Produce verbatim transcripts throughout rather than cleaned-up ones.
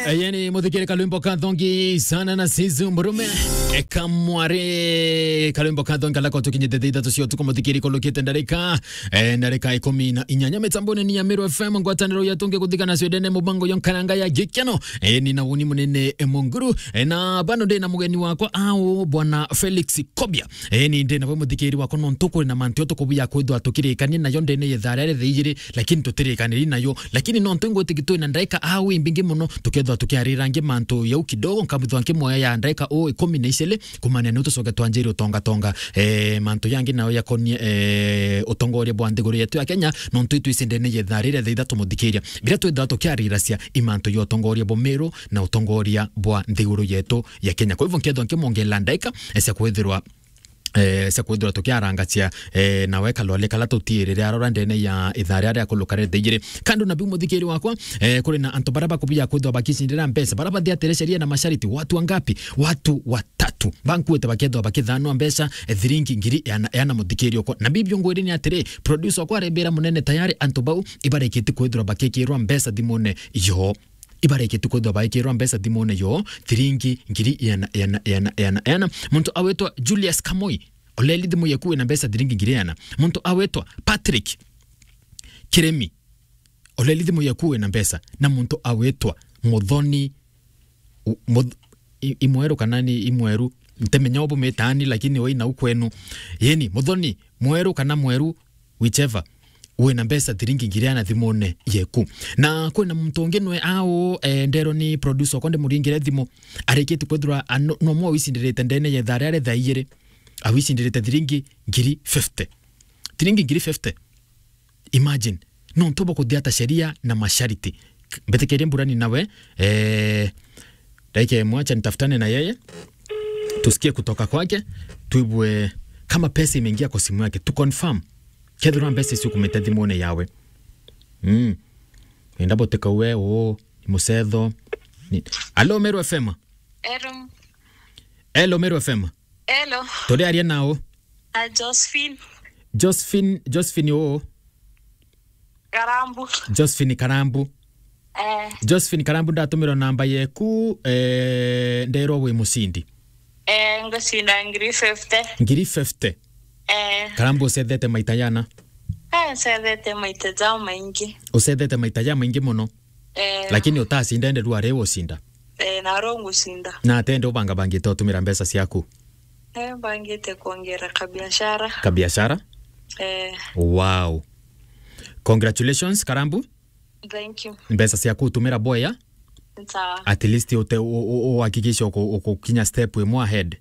Eye ni muthikiri kalwimbo ka thongi sana na Sizu Murume. E, kamwari kalwimbo ka thongi kala ko tukinyite thaa ithatu cia utuku, muthikiri, kulukite ndarika, e, ndarika ikumi na inyanya. Mitambone ni ya Meru F M, ngwataniro ya tungi kuthika na Sweden, mubango yo nkaranga ya gikeno. E, ni na wuni munene, e, Munguru. E, na bano ndi na mugeni wakwa au, bwana Felix Kobia. Eni, ndi nawe muthikiri wakwa, nontu kuri na mantu tukubuya kwithwa tukirikania nayo ndene ya ithaa riria ria thaa ijiri, lakini tutirikaniri nayo. Lakini nontu ngwitikia twi na ndaika au imbingi muno, tukethwa tukiarira ngi mantu yau kidogo, nkabithwa nkimoya ya ndaika o ikumi na iciri, kumania ni tucoke twanjiri utongatonga, eh, mantu yangi nayo yakonie, eh, utongoria bwa nthiguru yetu ya Kenya, nontu itwisi ndene ya ithaa riria ria thaa ithatu, muthikiria. Biria twithwa tukiariracia i mantu ya utongoria bwa Meru na utongoria bwa nthiguru yetu ya Kenya. Kwa hivyo, nkethwa nkimwongela ndaika, eh, cia kwithirwa, eh, cia kwithirwa tukiarangacia, eh, nawe kalwale kala tutiirire arora ndene ya ithaa riria ria kuluka ria thaa ijiri. Kando na biu, muthikiri wakwa, eh, kuri na antu baria bakubuya kwithirwa bakicindira mbeca, baria bathiatire sheria na mashariti. Watu wangapi? Watu watatu. Bankuite bakethwa bakithanwa mbeca, eh, thiringi ngiri iana, iana, muthikiri okwa. Na bibio ngwiri ni atiri, producer okwa arembera munene tayari antu bau ibarikite kwithirwa bakikirwa mbeca thimune yo. Ibarikite kwithwa baikirwa mbeca thimune yo, thiringi ngiri iana, iana, iana, iana, iana. Muntu awitwa Julius Kamoi, oleli thimu yeku wina mbeca thiringi ngiri iana. Muntu awitwa Patrick Kiremi, oleli thimu yeku wina mbeca. Na muntu awitwa Muthoni, u-, Muth-, i-, imweru kana ni imweru? Ntemenya ubu mitani, lakini wina u kwenu. Yeni, Muthoni, mweru kana mweru, whichever, wina mbeca thiringi ngiri iana thimune yeku. Na kwina muntu ungi nwe au, eh, ndero ni producer okwa ndimuringire thimu, arikite kwithirwa a-, no, no mwe wicindirite ndene ya ithaa riria ria thaa ijiri, awicindirite thiringi ngiri fifty. Thiringi ngiri fifty. Imagine, nontu bwa kuthiata sheria na mashariti. Mbitikirie mburani nawe, eh, dakika imwe, acha nitafutane na yeye, tusikie kutoka kwake, tuibue kama pesa imeingia kwa simu yake, tu confirm kethirwa mbeca icio kumite thimune yawe. Mm. Enda boteka we, o, ni mucetho. Ni... Alo, Meru F M. Hello. Hello, Meru F M. Hello. Turiaria nao. A Josephine. Josephine, Josephine o? Karambu. Josephine Karambu. Eh. Josephine Karambu, ndatumirwa namba yeku, eh, nderwa wi mucindi. Eh, ngucinda ngiri fifty. Ngiri fifty? Eh. Karambu, ucethete maita yana? Eh, ncethete maita ja maingi. Ucethete maita ja maingi muno? Eh. Lakini utacinda, ende rua riu ucinda? Eh, na riu ngucinda. Na atende ubangabangite utumira mbeca ciaku? Eh, mbangite kuongera kabiashara. Kabiashara? Eh. Wow. Congratulations, Karambu. Thank you. Mbeca ciaku utumira boya. Sawa. At least ute-, u-, u-, uhakikishe uku-, ukukinya step imwe ahead.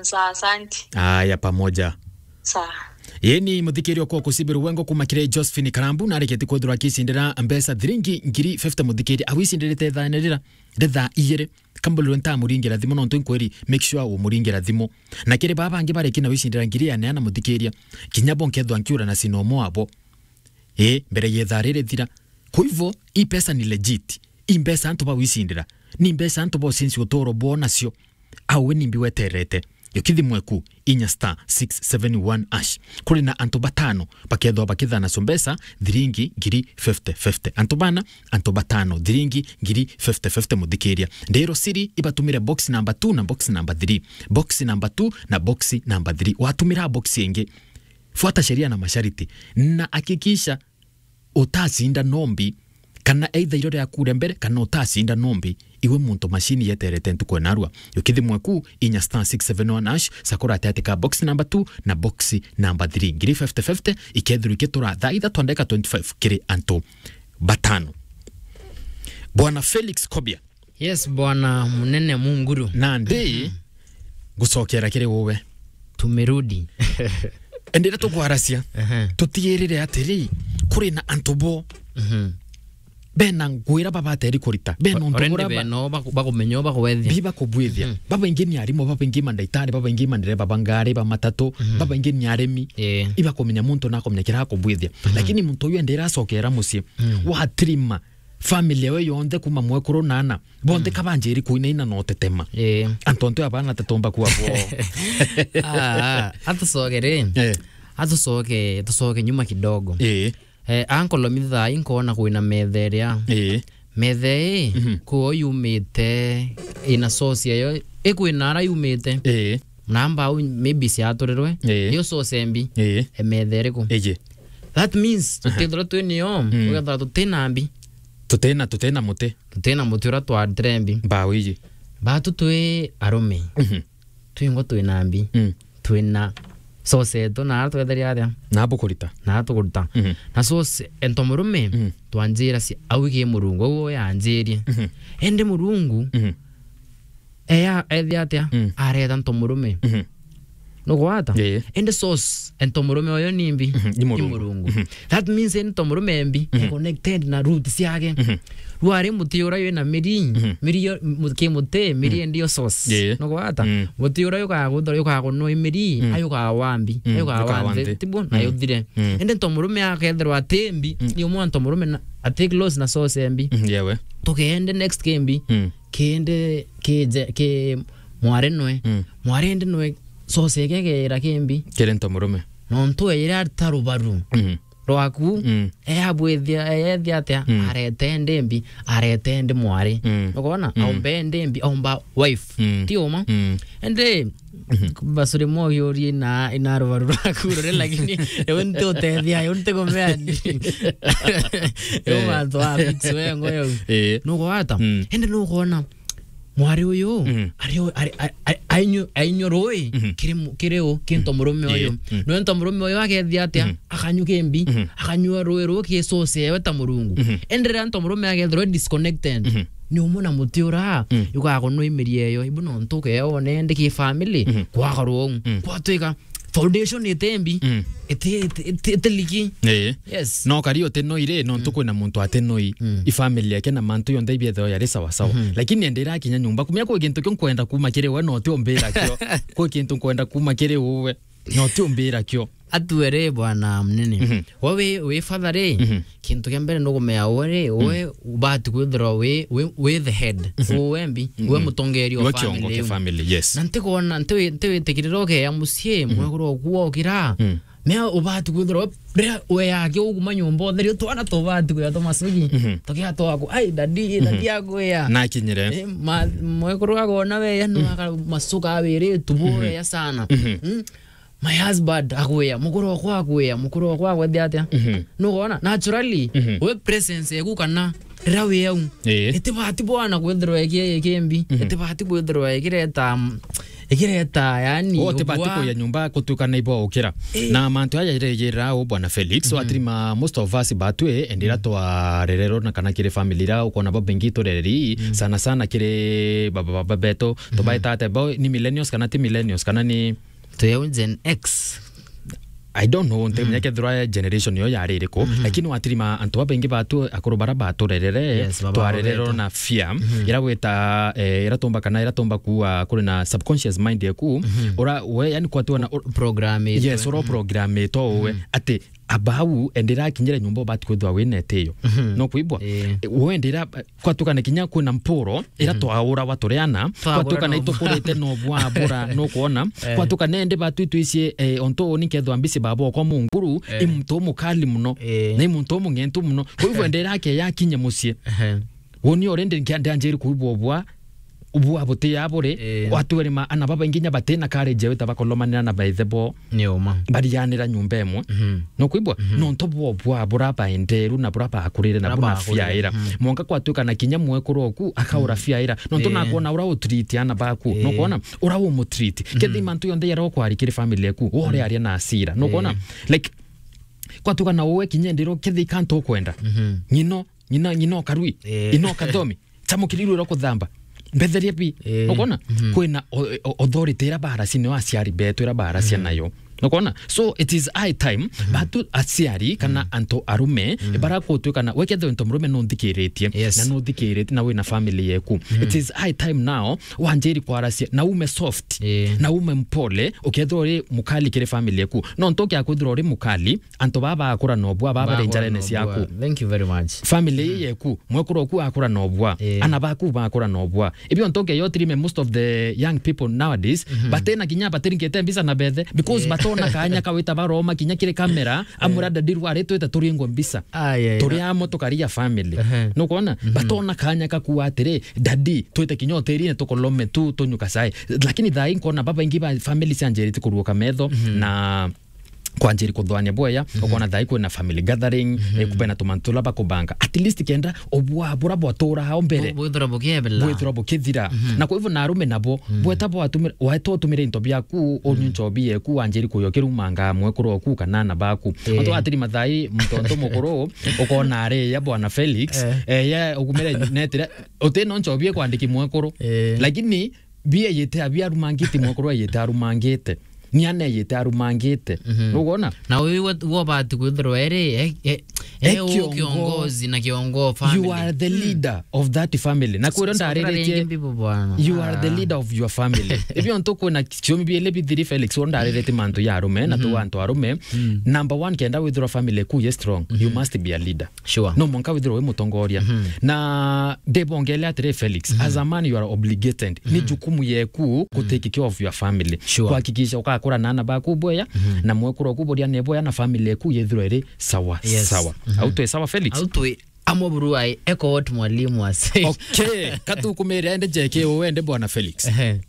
Sawa, asante. Aya, pamoja. Sawa. Yeni, muthikiri okwa kusibiru wengo kuma kiri Josephine Karambu, na arikiti kwithirwa akicindira mbeca thiringi ngiri fifty, muthikiri, awicindirite ithaene rira, rithaa ijiri. Kambulirwe ntamuringira thimu, nontu nkwiri, make sure umuringira thimu. Na kiri baa bangi bariki na wicindira ngiri ya neana, muthikiria, kinya bo nkethwa nkiura na sina umwe wabo. Ii, mbere ya ithaa riri thira. Kwa hivyo, hii pesa ni legit. Hii mbeca antu bawicindira. Ni mbeca antu bocinci uturo bwao nacio. Au we nimbi weterete? Yukithimwe ku inya star six seven one hash. Kuri na antu batano bakethwa bakithana cio mbeca thiringi ngiri fifty fifty. Antu bana, antu batano, thiringi ngiri fifty fifty, muthikiria. Ndiro siri ibatumire box number two na box number three. Box number two na box number three. Watumira box ingi, fuata sheria na mashariti. Na hakikisha utacinda nombi, kana either iro riaku ria mbere, kana utacinda nombi, iwe muntu machine yeterete ntuku enarua. Yukithimwe ku inya star six seven one hash, sakura ati ati ka box number two na box number three. Ngiri fifty fifty, ikethirwa ikitura thaa ithatu ndagika twenty-five kiri antu batano. Bwana Felix Kobia. Yes, bwana munene Munguru. Nandi, ngucokera kiri uwe. Tumerudi. Endera tukwaracia. Ehe. Tutigirire atiri, kuri na antu bo. Mhm. Bena nguira babateri kurita. Bena untu already bura ba- bena o baku-, bakumenya o bakuwethia. Bi bakubwithia. Mhm. Babaingi ni arimu, babaingi mandaitari, babaingi mandereba ba ngari, ba matatu, mhm, babaingi ni arimi. Eh. Ibakumenya muntu na akumenya kira akubwithia. Mhm. Lakini muntu uyu endera acokera mucii. Mhm. Watirima family yawe yonthe kuma mwekuru na ana. Bonthe, mm, kabanjiri kuinaina na utetema. Eh. Antu antu abana tatomba kuwa bo. Ah, atucoke ri. Eh. Atucoke, tucoke nyuma kidogo. Eh. Eh, ankolomitha inkoona kwina metha iria. Eh. Methe ii, Mhm. kwio yumite, ina source yayo, ikwina ara yumite. Ii. Na mbau maybe ciaturirwe, Ii. yo source mbi, Ii. e methe iriku? Iji. That means, Aha. tutithirwa twi nio, Mm. ugethira tutina mbi. Tutina, tutina muti. Tutina muti uria twarutire mbi. Mbau iji. Batu twi arume. Mhm. Twingwa twina mbi. Mm. Twina source yetu, na ara twetheria aria. Na bukurita. Na ara tukuruta. Mhm. Na source, ento murume, Mm. twanjira cia, au ki Murungu, au yanjirie. Mhm. Ende Murungu, Mhm. eya, ethi atia? Mm. Areta nto murume. Mhm. Nugwata? Ii. Ende source, ento murume oyo ni mbi? Mhm, ni Murungu. Ni Murungu. Mhm. That means ento murume mbi, Mhm. e connected na root ciake. Mhm. Rwari muti uria wina miri, Mhm. miri yo, mu-, ki muti, miri Mhm. ndio source. Ii. Nugwata? Mm. Muti uria yukaga guthora, yukaga kunwa miri, Mm. ayukaga wa mbi, Mm, ayukaga yukaga wa wa nthi, nthi. Tibu, na Mm. yuthire. Mm. Ende nto murume akethirwa ati mbi, Mm. ni umwe nto murume na, ati close na source mbi. Mm, yewe. Tukende next kimbi. Mm. Kindi kije, ki mwari nwe. Mm. Mwari ndi nwe source ike kera kimbi. Kiri nto murume. Nontu eyire ari ta rubaru. Mm. Rwaku, Mm. eyabwithia, eyethia atia? Mm. Arete ndi mbi, arete ndi mwari. Mm. Ukona? Mm. Aumbe ndi mbi, aumba wife. Mm. Ti uma? Mm. Indi, Mhm. basuri moyo ri na, ina rubaru rwaku rure, lakini, eu nti utethia, eu nti kumea ndi. Riu Eh. mantu a fix wengo yau. Eh. Nugwata? Mm. Indi nugona mwari uyu, Mm. ari o-, ari, ari, ari, ainyu-, ainyu rui, Mhm. kiri mu-, kiri u, kinto murume uyu. Mm. Mm. Nonto murume uyu akethia atia? Mm. Akanyua kimbi, Mhm. akanyua rui ruu ki source yewe ta Murungu. Mhm. Indi riria nto murume akethirwa disconnected, Mhm. ni umwe na muti ura, Mm. yukaga kunwa imiri eyo. Ibu nontu ukeone ndi ki family, Mhm. kwakorwo uu. Mm. Kwatwika foundation iti mbi, Mm. iti, iti, iti, iti liki. Ii. Yes. No kari uti noi ri, nontu Mm. kwina muntu ati noi. Mm. I family yake na mantu yonthe ibiethagwa yari sawa sawa. Mhm. Lakini ende irakinya nyumba, kumia kwi kintu kiu nkwenda kuma kiri we, no ti umbira kio. Kwi kintu nkwenda kuma kiri uwe, no ti umbira kio. Atue ri, bwana munene. Mhm. We wi, wi father ri, Mhm. kintu kia mbere nukumea we ri, we Mm. ubati kwithirwa wi, wi, wi the head. Mhm. Uwe mbi, Mhm. we mutongeria wa We kiongo family kia iu. Family, yes. Na ntikwona, ntiwi-, ntiwitikirira ukeya mucii, Mhm. mwekuru oku wokira. Mm. Mea ubati kwithirwa, riria weyake uguma nyumba utheri, twana tubati kwithirwa tumacugi. Mhm. Tukia twaku, "Ai, daddy, daddy Mhm. akwia." Nakinyire. Eh, ma-, mwekuru agona weya, no Mhm. aka-, macuka awiritu Mhm. boya sana. Mhm. Mm? My husband akwia, mukuru wakwa akwia, mukuru wakwa agwethia atia? Mhm. Nugona? Naturally, Mhm. we presence eku kana riria wi au, Ii. itibati bwana kwithirwa iki-, ikimbi, Mhm. itibati kwithirwa ikireta, mm, ikireta, yani, Oh, tibati ubua. Kuya nyumba kutuika na ibwa ukira. Ii. Na mantu aya iregira u bwana Felix, Mhm. watirima most of us batwi, endira Mm. twarererwo na kana kiri family ira ukona bo bengi turereri, Mm. sana sana kiri baba, baba betu, Mhm. tubaita ate, bo ni millennials kana ti millennials, kana ni Twi au Gen X. I don't know, ntimenya Mm. kethirwa generation iyo yari iriku, Mhm. lakini watirima antu babaingi batu, akuru bara baturerere, Yes, baba twarererwo betu. Na fear, Mhm. ira gwita, eh, ira tumba kana ira tumba kuwa kuri na subconscious mind yaku, Mhm. ura we, yani, kwatiwa na, ur-, Programming. Yes, ura Mm. programming to we, Mhm. ati abau, endira akinyire nyumba ubati kwithwa wina etio. Mhm. No kwibwa? Eh. We endira, Kwatukana kinya kwina mpuro, ira Mhm. twaurawa turi ana, Twagura kwatukana no itukurite no bwabura, nukwona? Eh. Kwatukana ende batu itwicie, eh, ontu uu ni nkethwa mbisi baba okwa munguru, Eh. i muntu umukali muno, Eh. na i muntu umung'entu muno. Kwa hivyo, Eh. endera ake yakinye mucii. Ehe. Woni already nkia-, ndanjiri kuigua ubwa, ubwa buti ya buri, Eh. watu eri ma-, ana babaingi nya batina courage ya wita bakolomanira na baithe bo. Ni uma. Barianira nyumba imwe. Mhm. Nukwigua? Mhm. Nontu bwo bwa bura baenderu na bura bakurire na Bura buna bakurire. Fiaira. Mhm. Mwanka kwatuika na kinya mwekuru oku akaura Mm. Fiaira. Nontu Eh. nakwona ura utreat ana baku. Eh. Nukwona? Ura umutreat. Mhm. Kethi mantu yonthe yara ukwari kiri family eku. Ore Mm. aria na asira. Nukwona? Eh. Like, kwatuika na uwe kinya ndiro kethi kantu ukwenda. Mhm. Ng'ino, ng'ina, ng'ina ukarui. Eh. Ino ukathomi. Chamukirirwe ro kuthamba. Mbetheria pi. Eh. Ukona? Mhm. Kwina o-, o-, authority ira bara sine wa aciari betu ira bara cia Mhm. nayo. Ukona? So it is high time Mhm. batu aciari kana Mhm. antu arume Mhm. bara kutuika na wekethe nto murume nunthikiritie Yes. na nunthikiritie na wina family yeku. Mhm. It is high time now wanjiri kwaracia na ume soft Eh. na ume mpole ukethwa uri mukali kiri family yeku. No ntoke akwithirwa uri mukali antu baba bakura nobwa baba Bakura bari njarene nobwa. Ciaku. Thank you very much. Family Mm. yeku, mwekuru oku akura nobwa, Eh. ana baku bakura nobwa. Ibio ntoke yo tirime most of the young people nowadays, Mhm. batena kinya batiringite mbisa na bethe, because Eh. bato ona kanya kawita baroma kinya kiri kamera, amwira, "Daddy, rwari twite turingwe mbica." Ai, ai, turi na- amo tukaria family. Ehe. Nukwona? Mhm. Batona kanya kakuwa atiri, "Daddy, twite kinya hotelini tukolome tu, tunyuka cai." Lakini thaa ii nkona babaingi ba family cianjirite kuruuka metho, mhm, na kwanjiri kuthwania bweya, mhm, ukona thaa ii kwina family gathering, mhm, eh, kubena tumantu tula bakubanga. At least kenda obwa bura bwatura ao mbere. Bu-, bwithira bukiebela. Bwithira bukithira. Mhm. Na kwa hivyo na arume nabo, mhm, bweta bwatumire, waeta utumire into biaku, unyu, mhm, nchobi yeku, wanjiri kuyo kirumanga mwekuru oku kana ana baku. Eh. Antu atiri mathai, mtonto mukuru, ukona ari ya bwana Felix, eh, eh, ya ugumire netire, uti no nchobi ekwandiki mwekuru. Eh. Lakini bia yite abia arumangiti mwekuru yite arumangite. Ni ane yite arumangite. Mhm. Nugona? Na uyu we-, wo bati kwithirwa eri, e, e, e, e kiongozi. Kiongozi na kiongo family. You are the leader of that family. Na kwira ndariritie, you are the leader of your family. Ibio ntu kwina ciomi biele bithiri Felix, wo ndariritie mantu ya arume, na tu antu arume. Mm. Number one, kenda withirwa family ku ye strong, you must be a leader. Sure. No mwanka withirwe wi mutongoria. Mhm. Na ndibongele atiri Felix, mhm, as a man you are obligated. Ni jukumu yeku ku take care of your family. Sure. Kuhakikisha ukakura na ana baku bweya, mhm, na mwekuru oku buria ne bweya na family yeku yethirwe iri sawa, yes, sawa. Mhm. Au twi sawa, Felix? Au twi amwe buru ai, echo what mwalimu ase. Okay, katukumire ende jeke uende bwana Felix. Ehe.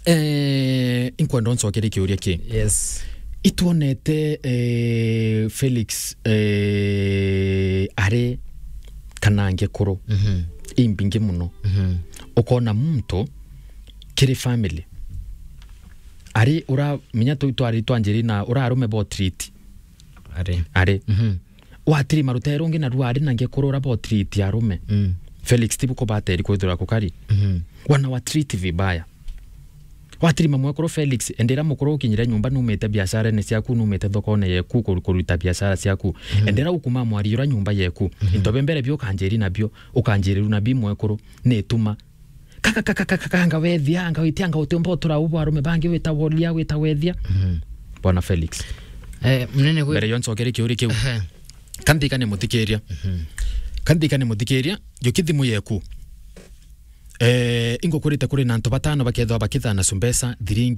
Eh, inkwenda uncokerie kiuria ki. Yes. Itwonete, eh, Felix, eh, ari kana ngekuru, mhm, imbingi muno. Mhm. Ukona muntu kiri family. Ari ura, minya tu twari twanjiri na ura arume bo treat. Ari. Ari. Mhm. Watiri marutere rungi na ruari na ngekuru ura bo treat arume. Mm. Felix, tibu kubateri kwithirwa kukari. Mhm. Wana wa treat vibaya. Watirima mwekuru Felix, endera mukuru ukinyire nyumba numite biasharene ciaku, numite thokone yeku kur-, kuruta biashara ciaku. Mhm. Endera ukuma mwari ura nyumba yeku. Mhm. Into bia mbere bio ukanjiri nabio, ukanjiriru nabi mwekuru, ni tuma. Kaka, kaka, kaka, kaka, anga wethia, anga witia, anga utiumba utura ubu arume bangi wita wolia, wita wethia. Mhm. Bwana Felix. Eh, mnene kwi- Mbere yo ncokere kiuri kiu. Ehe. Kanthika ni muthikiria. Mhm. Kanthika ni muthikiria, juki thimu yeku. Eh, ingukurite kuri na antu batano bakethwa bakithana cumbesa thiringi